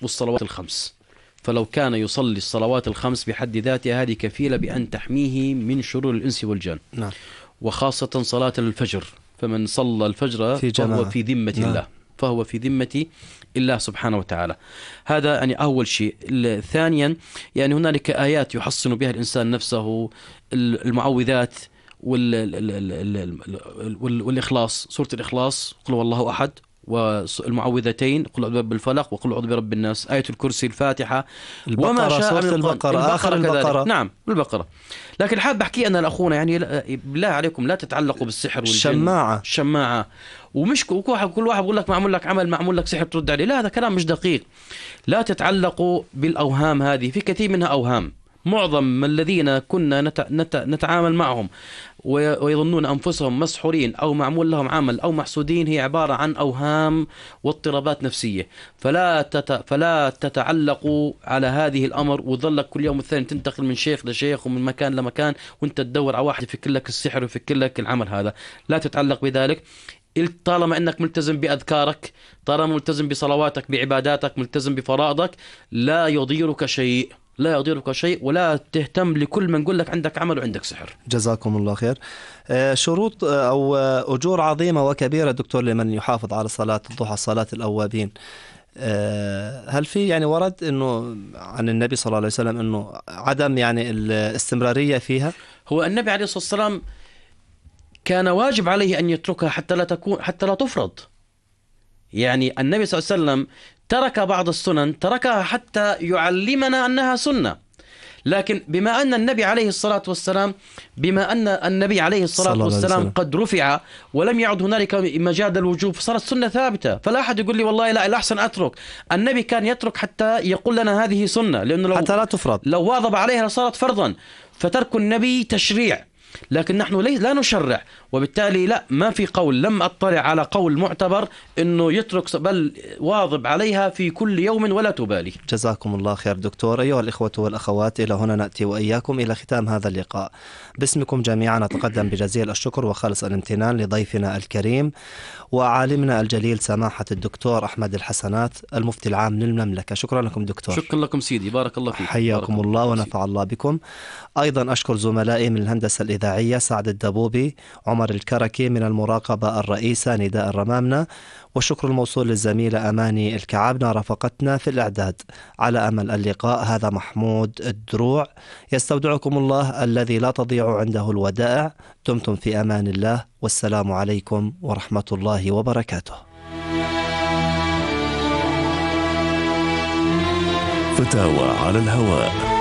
والصلوات الخمس. فلو كان يصلي الصلوات الخمس بحد ذاتها هذه كفيلة بأن تحميه من شرور الإنس والجن. نعم. وخاصة صلاة الفجر، فمن صلى الفجر فهو في ذمة الله، فهو في ذمة الله سبحانه وتعالى. هذا يعني أول شيء. ثانيا يعني هنالك آيات يحصن بها الإنسان نفسه، المعوذات والإخلاص، سورة الإخلاص قل هو الله أحد، والمعوذتين قل أعوذ برب الفلق وقل أعوذ برب الناس، آية الكرسي، الفاتحة، وما شاء سورة البقرة، آخر البقرة. نعم البقرة. لكن حاب أحكي أنا لأخونا يعني بالله عليكم لا تتعلقوا بالسحر والجن. الشماعة ومش كل واحد بقول لك معمول لك عمل، معمول لك سحر ترد عليه، لا هذا كلام مش دقيق. لا تتعلقوا بالأوهام هذه، في كثير منها أوهام. معظم الذين كنا نتعامل معهم ويظنون أنفسهم مسحورين أو معمول لهم عمل أو محسودين هي عبارة عن أوهام واضطرابات نفسية. فلا تتعلقوا على هذه الأمر وظلك كل يوم والثاني تنتقل من شيخ لشيخ ومن مكان لمكان وانت تدور على واحد يفك لك السحر ويفك لك العمل. هذا لا تتعلق بذلك. طالما أنك ملتزم بأذكارك، طالما ملتزم بصلواتك، بعباداتك، ملتزم بفرائضك، لا يضيرك شيء، لا يضيرك شيء، ولا تهتم لكل من يقول لك عندك عمل وعندك سحر. جزاكم الله خير. شروط أو أجور عظيمة وكبيرة دكتور لمن يحافظ على صلاة الضحى، صلاة الأوابين. هل في يعني ورد إنه عن النبي صلى الله عليه وسلم إنه عدم يعني الاستمرارية فيها؟ هو النبي عليه الصلاة والسلام كان واجب عليه أن يتركها حتى لا تفرض. يعني النبي صلى الله عليه وسلم ترك بعض السنن، تركها حتى يعلمنا أنها سنة. لكن بما أن النبي عليه الصلاة والسلام قد رفع ولم يعد هنالك مجال الوجوب، فصارت سنة ثابتة. فلا أحد يقول لي والله لا الأحسن أترك. النبي كان يترك حتى يقول لنا هذه سنة، لأنه حتى لا تفرض. لو واظب عليها لصارت فرضا. فترك النبي تشريع، لكن نحن لا نشرع، وبالتالي لا ما في قول، لم أطلع على قول معتبر أنه يترك، بل واظب عليها في كل يوم ولا تبالي. جزاكم الله خير دكتور. أيها الإخوة والأخوات، إلى هنا نأتي وإياكم إلى ختام هذا اللقاء. باسمكم جميعا نتقدم بجزيل الشكر وخالص الامتنان لضيفنا الكريم وعالمنا الجليل سماحة الدكتور أحمد الحسنات المفتي العام للمملكة. شكرا لكم دكتور. شكرا لكم سيدي، بارك الله فيك. حياكم الله ونفع الله بكم. أيضا أشكر زملائي من الهندسة الإذاعية سعد الدبوبي، عمر الكركي، من المراقبة الرئيسة نداء الرمامنة، والشكر الموصول للزميلة أماني الكعابنة رافقتنا في الإعداد. على أمل اللقاء، هذا محمود الدروع يستودعكم الله الذي لا تضيع عنده الودائع. دمتم في أمان الله، والسلام عليكم ورحمة الله وبركاته. فتاوى على الهواء.